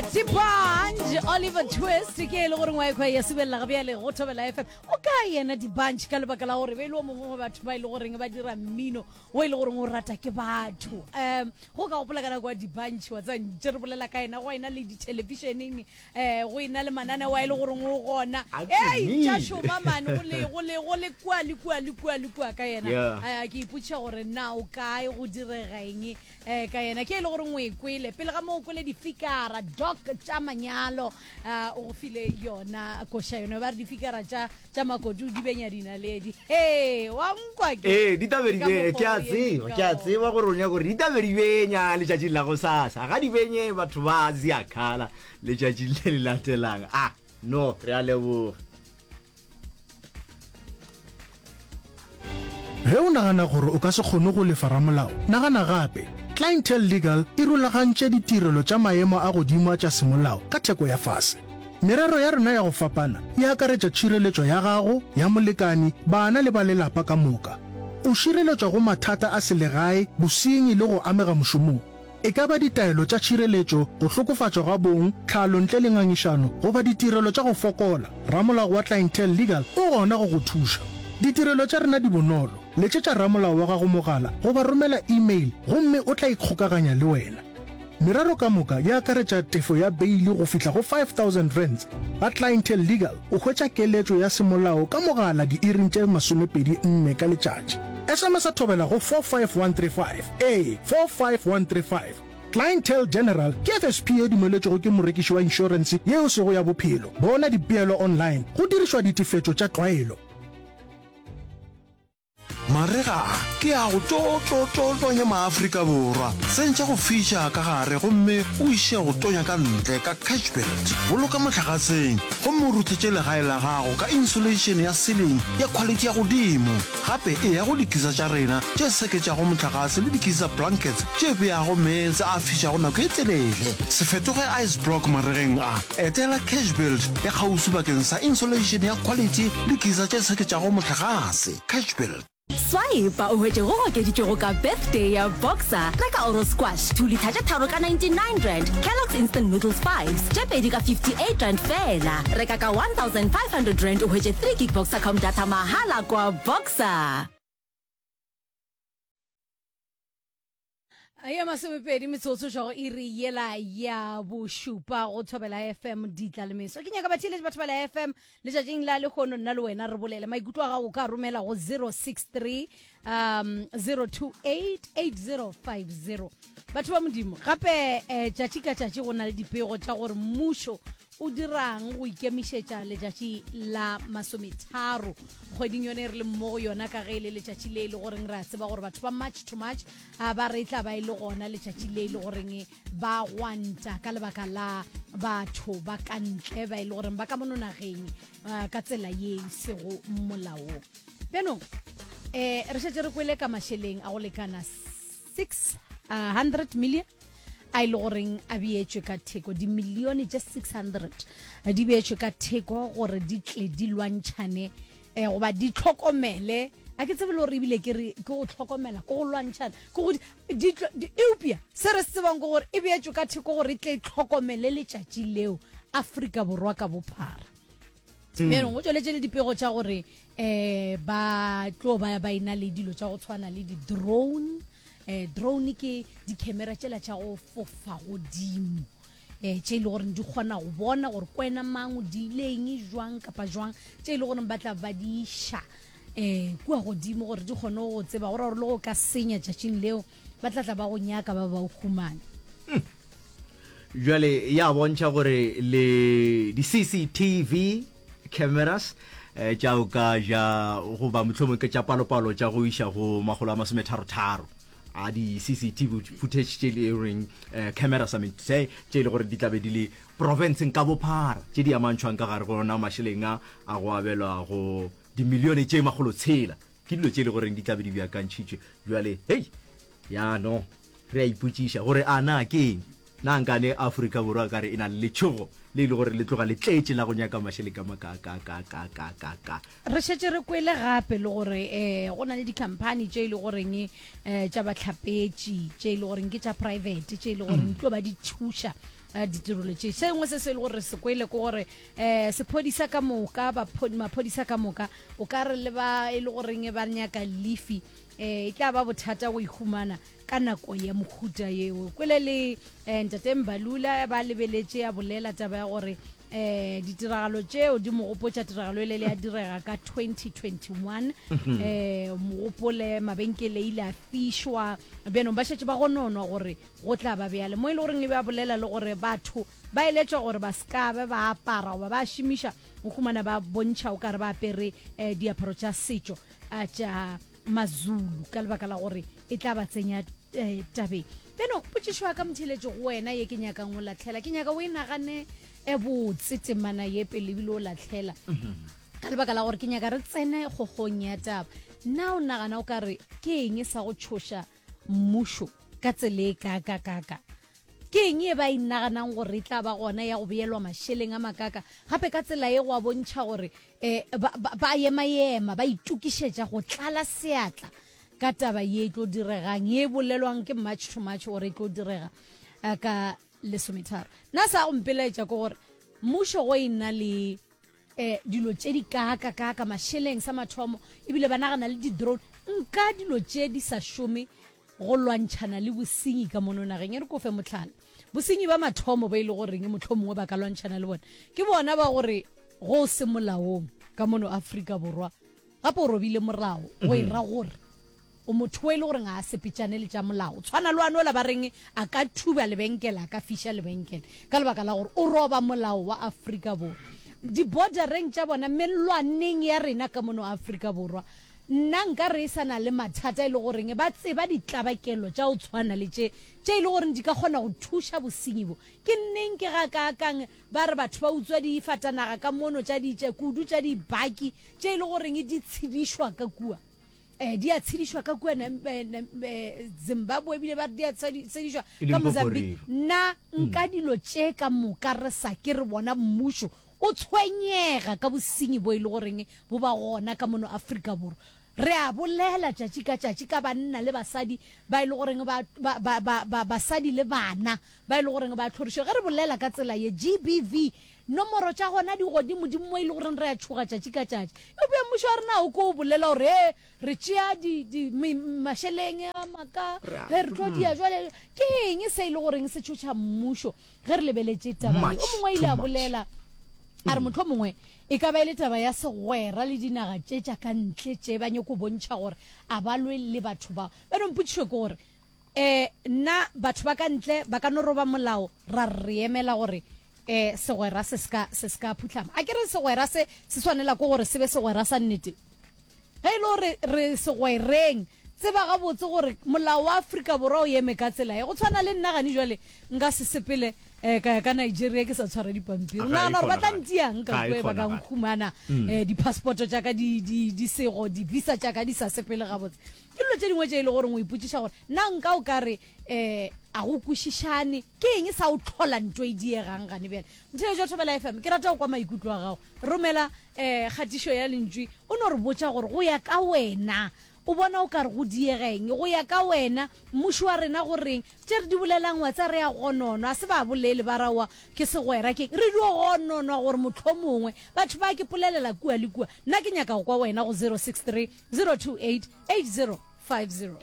Dibanj Oliver Twist ke e le gore ngwa ekwa ya subelela ga bjale go Thobela FM o ka yena Dibanj ka lebaka la gore be e le o mongwe wa batho ba e le goreng ba dira mmino o e le goreng o rata ke batho um go ka gopola ka nako ya Dibanj wa tseba ntše re bolela ka yena go ena le dithelebišeneng um go ena le mananeo a e le goreng o gona A ei tša tumile. šoma mane go le go le go le kua le kua le kua le kua ka yena Yeah. Eh, ke ipotšiša gore na o kae go direga eng um ka yena ke e le goreng o e kwele pele ga mo o kwele difikara doc tša manyalo um o go file yona koša yone ba re difikara tša tša makodu di benya dinaledi he wa nkwa ke Ee, di tla be di Ka be mokgwa ke a o emeng tseba, ka ke a gona. tseba gore o nyaka gore di tla be di benya letšatšing la gosasa. Ga di benye batho ba ziakhala letšatšing le le latelang. Ah, no, re a leboga. Ge o nagana gore o ka se kgone go lefa ramolao, nagana gape. Clientele Legal e rulagantše ditirelo tša maemo a godimo a tša semolao ka theko ya fase. Merero ya rena ya go fapana e akaretša tšhireletšo ya gago, ya molekani, bana le ba lelapa ka moka. O šireletšwa go mathata a selegae, bosenyi le go amega mošomong. E ka ba ditaelo tša tšhireletšo, go hlokofatšwa ga bong, tlhalo ntle le ngangišano, goba ditirelo tša go fokola, ramolao wa Clientele Legal o gona go go thuša. Ditirelo tša rena di bonolo, letšetša ramolao wa gago mogala goba romela email gomme o tla ikgokaganya le wena. Merero ka moka e akaretša tefo ya beili go fihla go R5000. Ga Clientele Legal o hwetša keletšo ya semolao ka mogala diiring tše 24 ka letšatši. SMS-a thobela go 45135. Ee, 45135. Clientele General ke FSP ye dumeletšwego ke morekiši wa inšorense ye e sego ya bophelo. Bona dipeelo online go dirišwa ditefetšo tša tlwaelo. Marega a ke a go tlo tlo tlo tonya maAfrika Borwa. Tsentšha go fiša ka gare gomme o iše go tonya ka ntle ka Cashbuild. Boloka mohlagaseng gomme o ruthetše legae la gago ka insulation ya ceiling ya khwalithi ya godimo. Gape eya go dikisa tša rena tše seketšago mohlagase le dikisa blankets tše beago meetse a fišago nako e telele. Se fetoge ice block maregeng a. Etela Cashbuild ya kgauswi bakeng sa insulation ya khwalithi le kisa tše seketšago mohlagase. Cashbuild. Swipe o hwetše go okeditšwego ka Birthday ya Boxer. Reka Oro Squash 2 litha tše tharo ka R99, Kellogg's Instant Noodles Fives tše pedi ka R58 feela. Reka ka R1500 o hwetše 3 gig Boxercom data mahala kwa Boxer. Ya masomepedi metsotso tšwa go iri yela ya bošupa go Thobela FM ditla le meso. Ke nyaka batheeletši ba Thobela FM letšatšing la lehono nna le wena re bolele maikutlo a gago o ka romela go 063 um 028 8050. Batho ba Modimo gape eh, tšatši ka tšatši go na le dipego tša gore mmušo o dirang go ikemišetša letšatši la masometharo kgweding yone e re le mmo go yona ka ge e le letšatši le e le goreng re a tseba gore batho ba march to march a ba re e tla ba e le gona letšatši le e le goreng ba gwanta ka lebaka la batho ba ka ntle ba e le goreng ba ka mono nageng ka tsela ye e sego molaong bjanong um re šetše re kwele ka mašeleng a go lekana 600 million a e le goreng a beetšwe ka theko dimilione tše 600 di beetšwe ka theko gore di tle di lwantšhane um goba di tlhokomele a ke tsebe le gore ebile ke re ke go tlhokomela ke go lwantšhana ke go eupša se re se tsebang ke gore e beetšwe ka theko gore e tle e tlhokomele letšatši leo Afrika Borwa ka bophara bjanong go tšweletše le dipego tša gore um ba tlo ba ba ena le dilo tša go tshwana le di-drone um drone ke di-camera tšela tša go fofa godimo um tše e le goreng di kgona go bona gore kwena mang o diileng jwang kapa jwang tše e le goreng ba tla ba di iša um kua godimo gore di kgone go tseba gore gore le go ka senya tšatšing leo ba tla tla ba go nyaka ba ba o humane. Bjale ya bontšha gore le di-CCTV cameras eh, tša o ka ja goba mohlomongwe ke tša palopalo tša go iša go makgolo a masometharotharo a di-CCTV footage tše le reng eh, cameras I mean to say tše e le gore di tla be di le provinceng ka bophara tše di amantšhwang ka gare go ona mašeleng a a go abelwa go dimilione tše makgolotshela Ke dilo tše e le goreng di tla be di beakantšhitšwe. Bjale, hei, ya no, re a ipotšiša gore a na ke eng? Na nkane Afrika Borwa ka re e na le letšhogo le e le gore le tloga le tletše la go nyaka mašeleng ka makaakaakaakaakaaka? Re šetše re kwele gape le gore um go na le dikhamphani tše e le goreng um tša bahlapetši tše e le goreng ke tša private tše e le goreng di tlo ba di thuša. ditirelo tše. Se sengwe se se e le gore re se kwele ke gore um sephodisa ka moka, maphodisa ka moka o ka re le ba e le goreng ba nyaka lifi um e tla ba bothata go e humana ka nako ya mohuta yeo. Kwele le um Ntate Mbalula ba lebeletše a bolela taba ya gore um ditiragalo tšeo di mo gopotša tiragalo ele le ya direga ka 2021 um mogopole mabenkele ile a fišwa bjanong ba šetše ba gononwa gore go tla ba bjale mo e le goreng e be a bolela le gore batho ba eletšwa gore ba se ka be ba apara goba ba šomiša go humana ba bontšha o kare ba apere um diaparo tša setšo tša Mazulu ka lebaka la gore e tla ba tsenya um tabeng. Beno potšišo ya ka motheeletši go wena ye ke nyakang o latlhela, ke nyaka o e nagane e botse temana ye pele ebile o latlhela ka lebaka la gore ke nyaka re tsene kgogong ya taba. Na o nagana o ka re ke eng sa go tšhoša mmušo ka tsela e kaakakaka? Ke eng ye ba e naganang gore e tla ba gona ya go beelwa mašeleng a makaka? Gape ka tsela ye go a bontšha gore um ba, ba, ba ema-ema, ba itokišetša go tlala seatla ka taba ye e tlo diregang, ye e bolelwang ke March to March gore e tlo direga eh, ka lesometharo. Nna sa go mpelaetša ke gore mmušo go e na le um dilo tše di kaaka-kaaka mašeleng sa mathomo, ebile ba nagana le di-drone, nka dilo tše di sa šome go lwantšhana le bosenyi ka mono nageng. E re ko fe mohlala. Bosenyi ba mathomo ba e le goreng mohlomongwe ba ka lwantšhana le bona ke bona ba gore go se molaong ka mono Afrika Borwa, gape o robile morao go e ra gore o motho o e le goreng ga a sepetšane le tša molao. Tshwana le wanola ba reng a ka thuba lebenkele, a ka fiša lebenkele ka lebaka la gore o roba molao wa Afrika Borwa. Di-bordereng tša bona, mellwaneng ya rena ka mono Afrika Borwa, Nna nka re e sa na le mathata e le goreng ba tseba ditlabakelo tša go tshwana le tše, tše e le goreng di ka kgona go thuša bosenyi bo. Ke neng ke gakaakang ba re batho ba utswa difatanaga ka mono tša ditše, kudu tša dibaki tše e le goreng di tshedišwa ka kua. Eh, di a tshedišwa ka kua Zimbabwe ebile ba re di a tshedišwa ka Mozambique. Nna nka dilo tše ka moka re sa ke re bona mmušo O tshwenyega ka bosenyi bo e le goreng bo ba gona ka mono Afrika Borwa. Re a bolela tšatši ka tšatši ka banna le basadi ba e le goreng ba, ba, ba, ba, ba, basadi le bana ba e le goreng ba hlorišwa. Ge re bolela ka tsela ye, GBV, nomoro tša gona di godimodimo mo e le goreng re a tšhoga tšatši ka tšatši. Eupša mmušo wa rena o ko o bolela gore, He, re tšea di, di, me, mašeleng a maka, he, re tlo dia jwale. Ke eng se e le goreng se tšhoša mmušo? Ge re lebeletše taba ye, o mongwe ile a bolela a re mohlomongwe e ka ba e le taba ya segwera le dinaga tše tša ka ntle tše ba nyako bontšha gore a ba lwe le batho bao. Bjale mpotšišo ke gore um na batho ba ka ntle ba ka no roba molao ra re re emela gore um segwera se se se se ka phuhlama? A ke re segwera se se swanela ke gore se be segwera sa nnete? Ge e le gore re segwereng, tseba gabotse gore molao wa Afrika Borwa o eme ka tsela ye. Go tshwana le nna gane jwale nka se sepele um ka ya ka Nigeria ke sa tshwara dipampiri. O nagana gore ba tla ntiang ka kua ba ka nkhumana um di-passport-o tša ka di, di, di sego, di-visa tša ka di sa sepele gabotse. Ke dilo tše dingwe tše e le goreng o ipotšiša gore na nka o ka re um a go kwešišane, ke eng sa o hlola nto e diegang gane bjale. Motheeletši wa Thobela FM, ke rata go kwa maikutlo a gago. Romela um kgatišo ya lentšu o no re botša gore go ya ka wena o bona o ka re go diega eng. Go ya ka wena mmušo wa rena go reng? Tše re di bolelang wa tsa re a gononwa, a se ba bolele ba ra oa ke segwera ke eng. Re dio gononwa gore mohlomongwe batho ba ke polelela kua le kua. Nna ke nyaka go kwa wena go 063 028 8050.